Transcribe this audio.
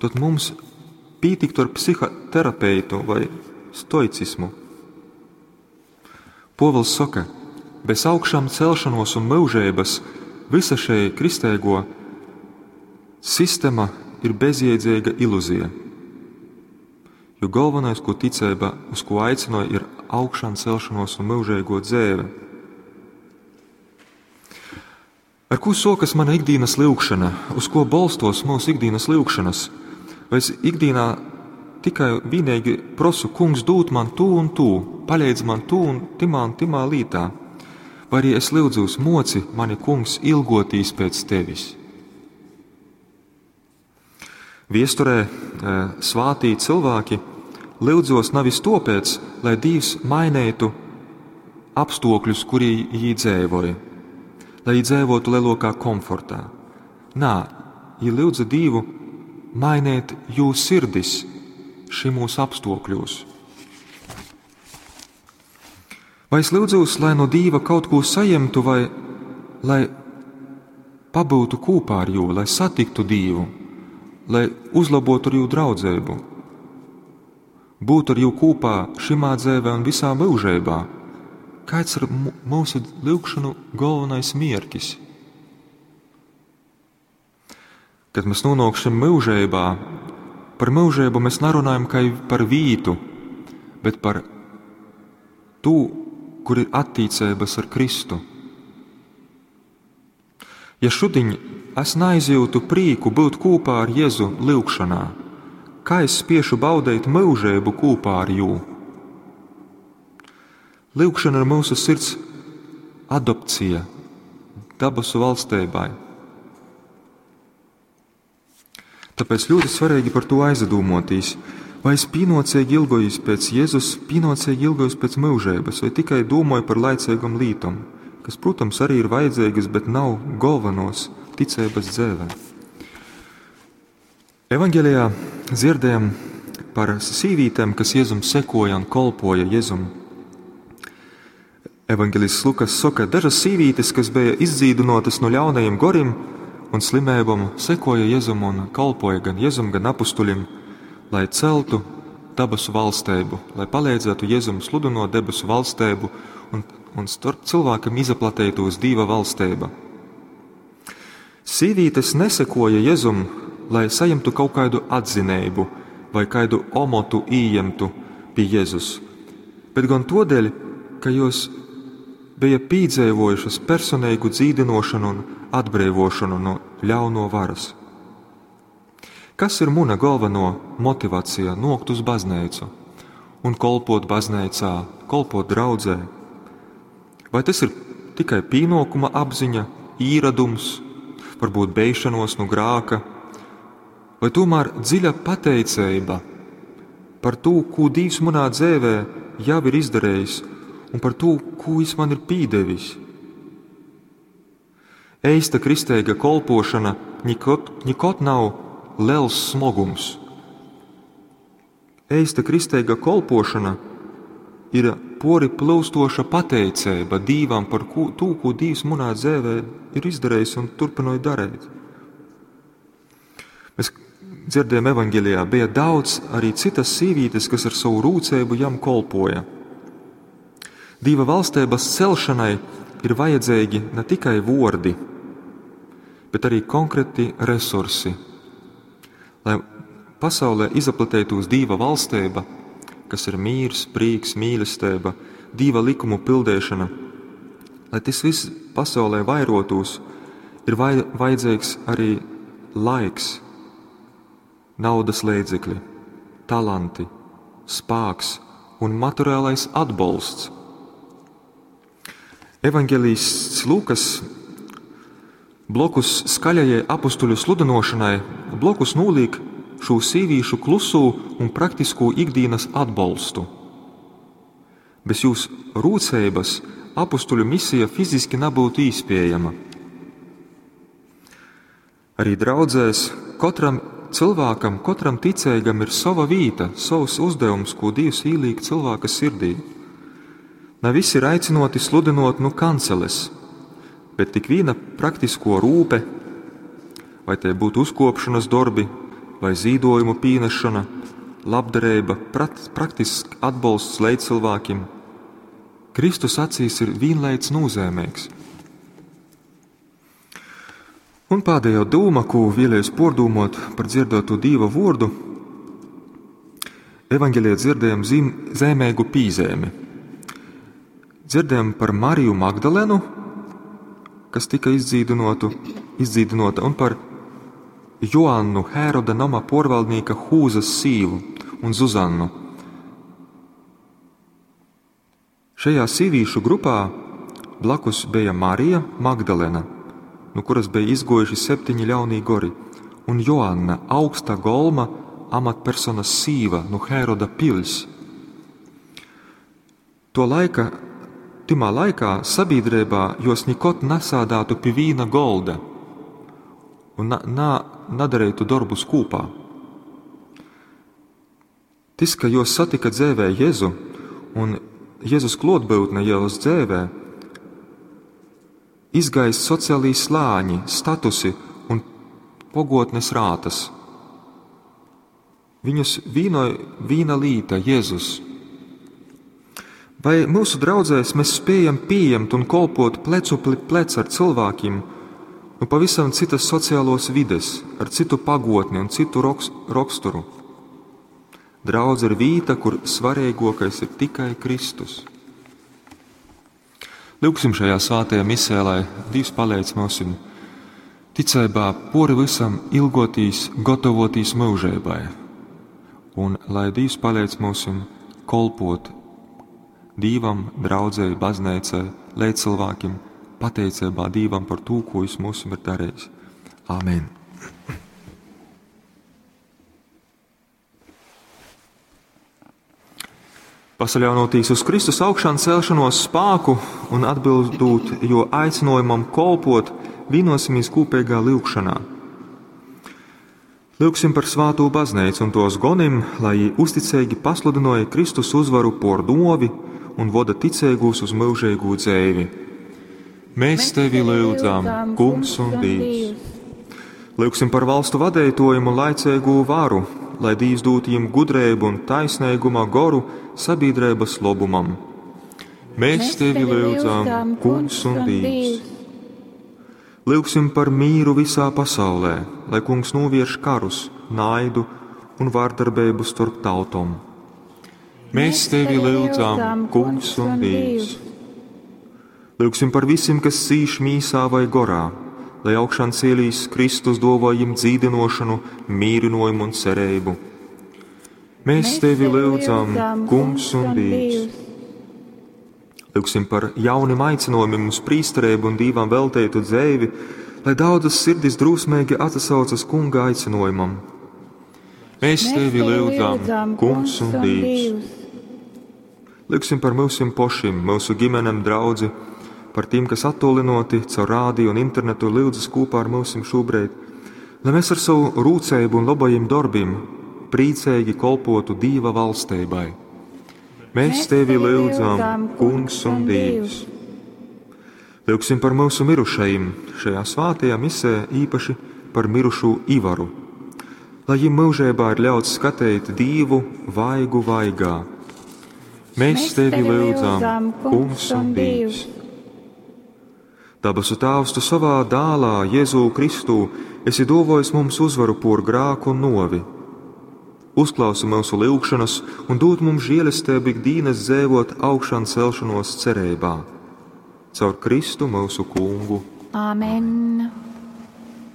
tod mums pītiktu ar psihoterapeitu vai stoicismu. Pōvils soka, bez augšām celšanos un myužeibas vysa šei kristēgo sistema ir bezjēdzīga iluzija. Jo galvenais, ko ticība, uz ko aicināja, ir augšām celšanos un mūžīgo dzēve. Ar ko sokas mana ikdienas lūgšana, uz ko bolstos mūsu ikdienas lūgšanas? Vai es ikdienā tikai vienīgi prosu, kungs, dūt man tū un tū, palīdz man tū un timā un timā lītā? Vai arī es lūdzos, moci mani, kungs, ilgotīs pēc tevis? Viesturē svātī cilvēki lūdzos nevis topēc, lai Dievs mainītu apstākļus, kurī jī dzēvoja, lai jī dzēvotu lielākā komfortā. Nā, jī lūdza Dievu mainīt jū sirdis šimūs apstākļos. Vai es lūdzos, lai no Dieva kaut ko saņemtu, vai lai pabūtu kopā ar jū, lai satiktu Dievu, lai uzlabotu ar jū draudzību, būt ar jū kopā šimā dzēvē un visā mūžībā? Kāds ir mūsu lūgšanu galvenais mierkis? Kad mēs nonāksim mūžībā, par mūžību mēs nerunājam kā par vītu, bet par to, kur ir attīcības ar Kristu. Ja šodien es neizjūtu prieku būt kopā ar Jēzu lūgšanā, kā es spiešu baudīt mūžību kopā ar jū? Lūgšana ir mūsu sirds adopcija dabasu valstībai. Tāpēc ļoti svarīgi par to aizdomāties. Vai es pienācīgi ilgojos pēc Jēzus, pienācīgi ilgojos pēc mūžības, vai tikai domāju par laicīgam lītam, kas, protams, arī ir vajadzīgas, bet nav galvenos ticības dzēvē. Evangelijā dzirdējam par sīvītēm, kas Jēzum sekoja un kolpoja Jēzum. Evangelists Lukas saka, dažas sīvītes, kas bija izdzīdinotas no ļaunajiem gorim un slimībām, sekoja Jēzum un kalpoja gan Jēzum, gan apustuļiem, lai celtu dabasu valstību, lai palīdzētu Jēzum sludinot debesu valstību un starp cilvēkam izplatītos Dieva valstība. Sīvītes nesekoja Jēzum, lai saņemtu kaut kādu atzinību vai kādu omotu ījemtu pie Jēzus, bet gan todēļ, ka jos bija piedzīvojušas personīgu dzīdinošanu un atbrīvošanu no ļauno varas. Kas ir mana galveno motivācija nokt uz baznīcu un kolpot baznīcā, kolpot draudzē? Vai tas ir tikai pienākuma apziņa, īradums, varbūt beišanos no grāka, vai tomēr dziļa pateicība par to, ko Dievs manā dzīvē jau ir izdarījis, un par to, ko Viņš man ir pīdevis? Eista kristīga kolpošana nikot nav liels smogums. Eista kristīga kolpošana ir pori plūstoša pateicība Dievam par to, ko Dievs manā dzīvē ir izdarījis un turpināja darīt. Mēs dzirdējām evaņģēlijā, bija daudz arī citas sīvītes, kas ar savu rūcību jam kolpoja. Dieva valstības celšanai ir vajadzīgi ne tikai vordi, bet arī konkrēti resursi. Lai pasaulē izplatītos Dieva valstība, kas ir mīrs, prieks, mīlestība, Dieva likumu pildīšana, lai tas viss pasaulē vairotos, ir vajadzīgs arī laiks, naudas līdzekļi, talanti, spēks un materiālais atbalsts. Evanģelists Lūkas blokus skaļajai apustuļu sludinošanai blokus noliek šo sīvīšu klusū un praktisko ikdienas atbalstu. Bez jūs rūcības apustuļu misija fiziski nebūtu īspējama. Arī draudzēs katram cilvēkam, katram ticīgam ir sava vīta, savs uzdevums, ko Dievs ieliek cilvēka sirdī. Ne visi ir aicinoti sludinot nu kanceles, bet tik viena praktisko rūpe, vai tie būtu uzkopšanas darbi, vai zīdojumu pīnešona, labdarība, praktisks atbolsts leidzcilvēkim, Kristus acīs ir vienlaic nozīmīgs. Un pēdējo dūma, ko vēlējos pordūmot par dzirdētu Dīva vārdu, evaņģēlijā dzirdējam zīmīgu pīzēmi. Dzirdējam par Mariju Magdalenu, kas tika izdzīdinota, un par Joannu, Hēroda nama porvaldnieka Hūzas sīvu un Zuzannu. Šajā sīvīšu grupā blakus bija Marija Magdalena, no kuras bija izgojuši 7 ļaunī gori, un Joanna, augsta golma amatpersonas sīva no Hēroda pils. To laika, timā laikā sabiedrībā jos nikot nesādātu pie vīna golda un nadarītu darbus kopā. Tis, ka jos satika dzēvē Jēzu un Jēzus klotbūtne jos dzēvē, izgaist sociālī slāņi, statusi un pogotnes rātas. Viņus vīnoja vīna līta Jēzus. Vai mūsu draudzēs mēs spējam pieņemt un kolpot plecu pie pleca ar cilvēkiem no pavisam citas sociālos vides, ar citu pagotni un citu raksturu? Draudze ir vīta, kur svarīgākais ir tikai Kristus. Lūksim šajā svētajā misē, lai Dievs palīdz mums ticībā pori visam ilgotīs, gatavotīs mūžībai, un lai Dievs palīdz mums kolpot Dīvam, draudzei, baznīcai, līdzcilvēkiem, pateicībā Dīvam par to, ko Viņš mums ir darījis. Āmen! Pasaļaunotīs uz Kristus augšām celšanos spāku un atbildot jo aicinājumam kolpot, vienosimies kopīgā lūgšanā. Lūgsim par svāto baznīcu un tos gonim, lai jī uzticīgi pasludināja Kristus uzvaru por novi un voda ticīgos uz mūžīgu dzēvi. Mēs tevi lūdzam, Kungs un Dievs. Lūgsim par valstu vadētojumu un laicīgu varu, lai Dievs dūtu jim gudrību un taisnīguma goru sabiedrības lobumam. Mēs tevi lūdzam, Kungs un Dievs. Lūgsim par mīru visā pasaulē, lai Kungs novērš karus, naidu un vārdarbību starp tautom. Mēs tevi lūdzam, Kungs un Dievs. Lūgsim par visiem, kas cīš mīsā vai gorā, lai augšām cielīs Kristus dāvā jim dzīdinošanu, mīrinājumu un cerību. Mēs tevi lūdzam, Kungs un Dievs. Lūgsim par jauniem aicinājumiem uz prīsterību un Dīvam veltētu dzēvi, lai daudzas sirdis drūsmīgi atsaucas Kunga aicinājumam. Mēs tevi lūdzam, Kungs un Dievs. Lūgsim par mūsim pošim, mūsu ģimenēm, draudzi, par tiem, kas attolinoti caur rādio un internetu lūdzas kopā ar mūsim šobrīd, lai mēs ar savu rūcību un labajiem darbiem priecīgi kolpotu Dīva valstībai. Mēs tevi lūdzam, Kungs un Dievs. Lūgsim par mūsu mirušajiem šajā svētajā misē, īpaši par mirušo Ivaru, lai viņiem mūžībā ir ļauts skatīt Dievu vaigu vaigā. Mēs tevi lūdzam, Kungs un Dievs. Dabasu Tēvs, tu savā dālā, Jēzū Kristū, esi dovojis mums uzvaru por grāku un novi. Uzklausi mūsu lūgšanas un dod mums žēlastību ikdienas dzēvot augšām celšanos cerībā. Caur Kristu mūsu Kungu. Āmen!